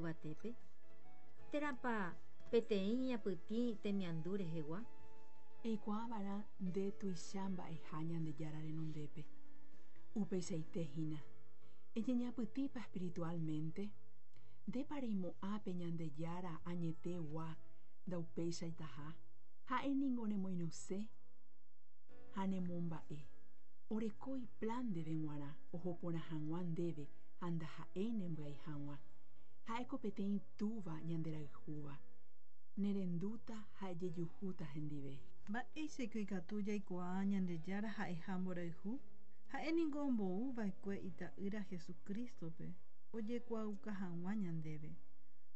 yvatépe? Térãpa peteĩ ñeñapytĩ temiandu rehegua? Eikuaava'erã nde tuicha mba'eha Ñandejára renondépe. Upeichaite hína. Eñeñapytĩpa espiritualmente? Ndépa reimo'ã pe Ñandejára añetegua ndaupeichaitaha? Ha'e ningo nemoirũse ha nemomba'e. Oreko iplan ndéve g̃uarã oho porã hag̃ua ndéve ha ndaha'éi nembyai hag̃ua. Ha'éko peteĩ Túva ñanderayhúva. Nerendúta ha ejejuhúta hendive. Mba'éichaiko ikatu jaikuaa Ñandejára ha'eha mborayhu? Ha'e ningo ombou va'ekue Ita'ýra Jesucrístope ojekuaauka hag̃ua ñandéve.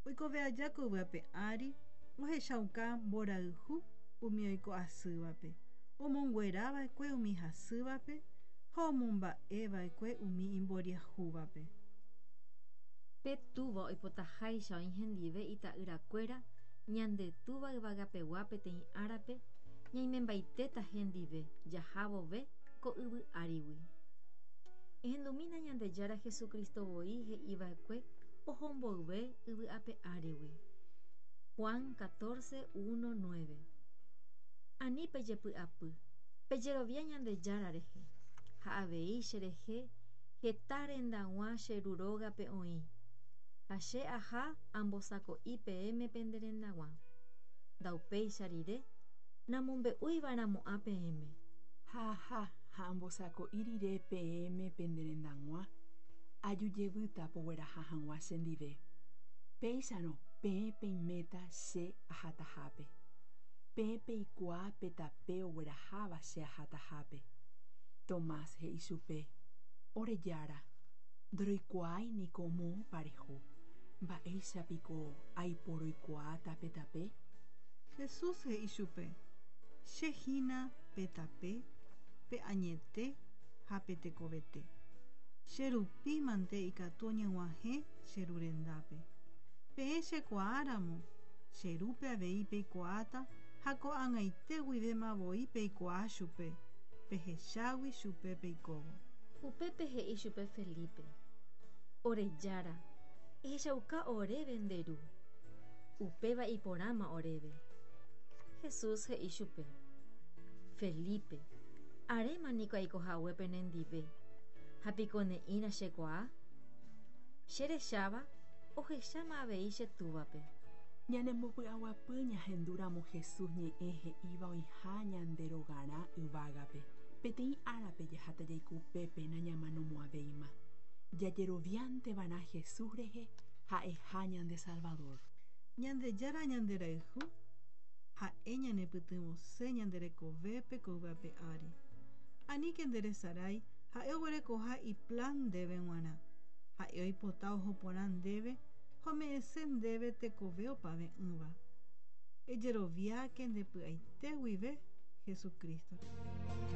Oikove aja ko yvy ape ári ohechauka mborayhu umi oiko asývape, omonguera va'ekue umi hasývape ha omomba'e va'ekue umi imboriahúvape. Pe Túva oipotaháicha oĩ hendive ita'yrakuéra, ñande Túva Yvagapegua peteĩ árape ñaimembaitéta hendive jaha vove ko yvy árigui. Ehendumína Ñandejára Jesucristo voi he'iva'ekue oho mboyve yvy ape árigui. Juan 14, 1, 9. Ani pejepy'apy, pejerovia Ñandejára rehe, ha avei cherehe heta rendag̃ua che Ru rógape oĩ, ha che aha ambosako'i peẽme pende rendag̃ua. Ndaupéicha rire, namombe'uiva'erãmo'ã peẽme. Ha aha ha ambosako'i rire peẽme pende rendag̃ua, aju jevýta pogueraha hag̃ua chendive. Péicharõ peẽ peiméta che ahatahápe. Peẽ peikuaa pe tape ogueraháva che ahatahápe. Tomás he'i chupe, Ore Jára, ndoroikuaái niko moõpa reho, mba'éicha piko aiporoikuaáta pe tape? Jesús he'i chupe, Che hína pe tape, pe añete ha pe tekovete. Che rupi mante ikatu oñeg̃uahẽ che Ru rendápe. Peẽ chekuaa ramo, che Rúpe avei peikuaáta ha ko'ag̃aite guivéma voi peikuaa chupe, pehechágui chupe peikóvo. Upépe he'i chupe Felipe, Ore Jára, ehechauka oréve nde Ru. Upéva iporãma oréve. Jesús he'i chupe, Felipe, aréma niko aiko hague penendive, ha piko ne'ĩra chekuaa? Che recháva, ohecháma avei che Túvape. Ñanembopy'aguapy ñahendúramo Jesús ñe'ẽ he'íva oĩha ñande rogarã yvágape. Peteĩ árape jaháta jaiko upépe nañamanomo'ãvéima. Jajeroviánteva'erã Jesús rehe ha'eha ñande Salvador. Ñandejára ñanderayhu, Ha'e ñanepytyvõse ñande rekovépe ko yvy ape ári. Aníke nderesarái Ha'e oguerekoha iplan ndéve g̃uarã. Ha'e oipota oho porã ndéve ha ome'ẽse ndéve tekove opave'ỹva. Ejeroviáke nde py'aite guive Jesucristo-re.